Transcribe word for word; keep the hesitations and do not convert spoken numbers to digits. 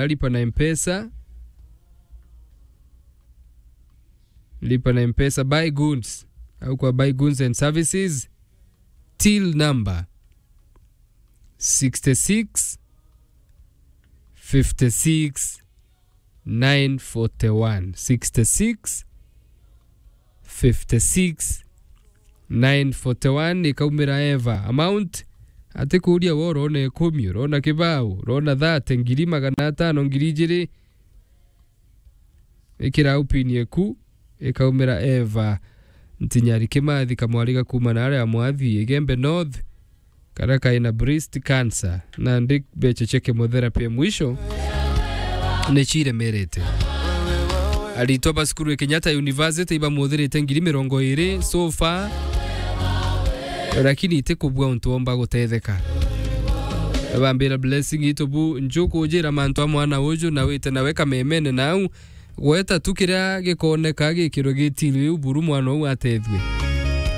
Lipa na Mpesa. Lipa na Mpesa, buy goods. Au kwa buy goods and services. Till number sixty-six fifty-six nine forty-one. Sixty-six fifty-six nine forty-one, ikaumira Eva. Amount, atikuuria we urona ikumi, urona kibao, urona thirty, ngiri magana atano, ngiri ijiri. Ikira au pin yeku, ikaumira Eva. Ntinyari Kimathi, kamwariga kuuma na aria Mwathi, Igembe North, karia kaina breast cancer, nandi mbecha cia chemotherapy ya mwisho ni ciremerete. Aritwa ba cukuru ya Kenyatta University ibamuthirite ngiri mirongo iri so far, lakini itikubua untu omba gutetheka. Bambira Blessing itu bu, njukujira mantu a mwana uju na wite nawe kamemene nau, gweta tu kiria gikoneka gikirwe gitiri riu buru mwana uu atethue.